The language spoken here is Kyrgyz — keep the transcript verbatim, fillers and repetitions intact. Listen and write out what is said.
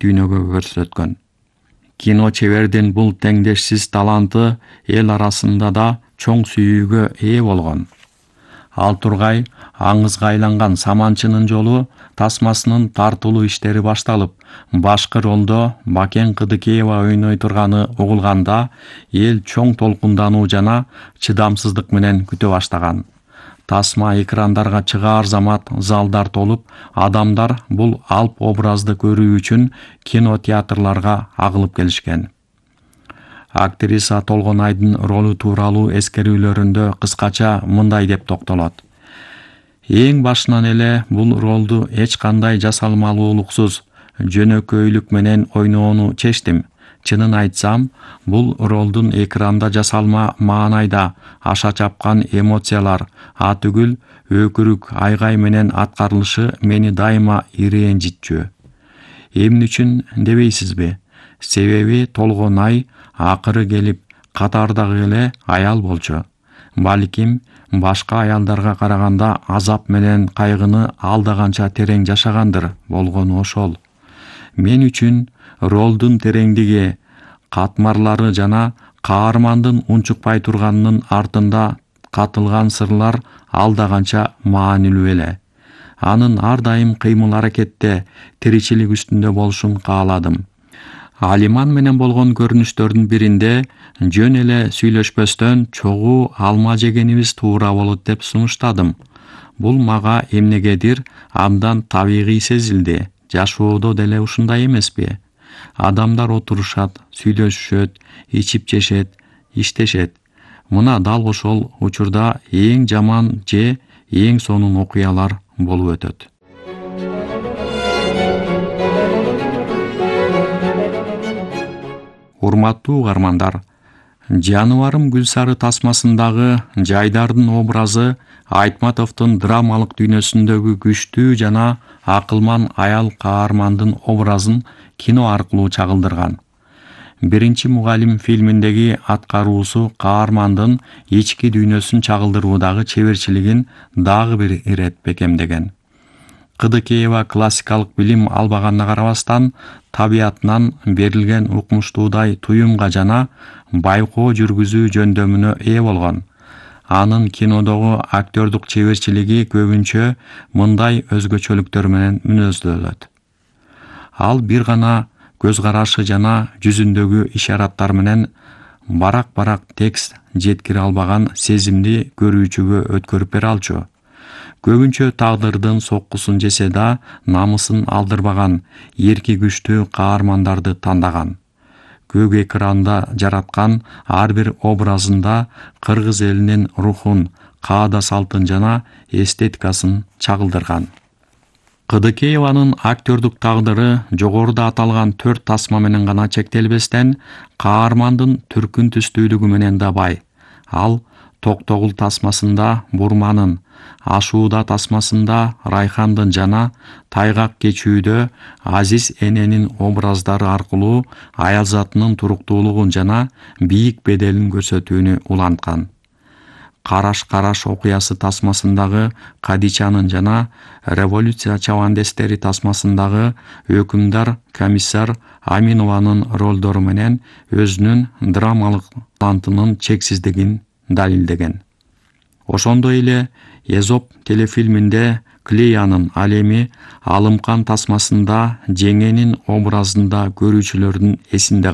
дүйнөгө көрсөткөн. Кино чебердин бул теңдешсиз таланты эл арасында да чоң сүйүүгө ээ болгон. Ал тургай аңызга айланган Саманчынын жолу тасмасынын тартылуу иштери башталып, башкы ролдо Бакен Кыдыкеева ойной турганы угулганда эл чоң толкундануу жана чыдамсыздык менен күтө баштаган. Тасма экрандарга чыгаар замат залдар толуп, адамдар бул алп образды көрүү үчүн кинотеатрларга агылып келишкен. Актриса Толгонайдын ролу тууралуу эскерүүлөрүндө кыскача мындай деп токтолот. Эң башынан эле бул ролду эч кандай жасалмалуулуксуз, жөнөкөйлүк менен ойноону чечтим. Чынын айтсам, бул ролдун экранда жасалма маанайда аша чапкан эмоциялар, а түгүл өкүрүк айгай менен аткарылышы мени дайыма ирэнжитчү. Эмне үчүн дебейсизби? Себеби Толгонай акыры келип катардагы эле аял болчу. Балким башка аялдарга караганда азап менен кайгыны алда канча терең жашагандыр болгону ошол. Мен үчүн ролдун тереңдиги, катмарлары жана каармандын унчукпай турганынын артында катылган сырлар алда канча маанилүү эле. Анын ар дайым кыймыл-аракетте, тиричилик үстүндө болушун кааладым. Алиман менен болгон көрүнүштөрдүн биринде жөн эле сүйлөшпөстөн чогуу алма жегенибиз туура болот деп сунуштадым. Бул мага эмнегедир абдан табигый сезилди. Жашоодо деле ушундай эмеспи? Адамдар отурушат, сүйлөшүшөт, ичип жешет, иштешет. Мына дал ошол учурда эң жаман же эң сонун окуялар болуп өтөт. Урматтуу угармандар, Жаныбарым Гүлсары тасмасындагы Жайдардын образы Айтматовдун драмалык дүйнөсүндөгү күчтүү жана акылман аял каармандын образын кино аркылуу чагылдырган. Биринчи мугалим фильминдеги аткаруусу каармандын ички дүйнөсүн чагылдыруудагы чеберчилигин дагы бир ирет бекемдеген. Кыдыкеева классикалык билим албаганына карабастан, табиятынан берилген укмуштуудай туюмга жана байкоо жүргүзүү жөндөмүнө ээ болгон. Анын кинодогу актёрдук чеберчилиги көбүнчө мындай өзгөчөлүктөр менен мүнөздөлөт. Ал бир гана көз карашы жана жүзүндөгү ишараттар менен барак-барак текст жеткире албаган сезимди көрүүчүгө өткөрүп бере алчу. Көбүнчө тагдырдын соккусун жесе да, намысын алдырбаган, эрки күчтүү каармандарды тандаган. Көк экранда жараткан ар бир образында кыргыз элинин рухун, каада салтын жана эстетикасын чагылдырган. Кыдыкееванын актёрдук тагдыры жогоруда аталган төрт тасма менен гана чектелбестен, каармандын түркүн түстүүлүгү менен да бай. Ал Токтогул тасмасында Бурманын, Ашууда тасмасында Райхандын жана Тайгак кечүүдө Азиз эненин образдары аркылуу аялзатынын туруктуулугун жана бийик беделин көрсөтүүнү уланткан. Караш-караш окуясы тасмасындагы Кадичанын жана Революция чабандестери тасмасындагы өкүмдар комиссар Аминованын ролдору менен өзүнүн драмалык талантынын чексиздигин далилдеген. Ошондой эле Эзоп телефильминде Клеянын, ал эми Алымкан тасмасында Жеңенин образында көрүүчүлөрдүн эсинде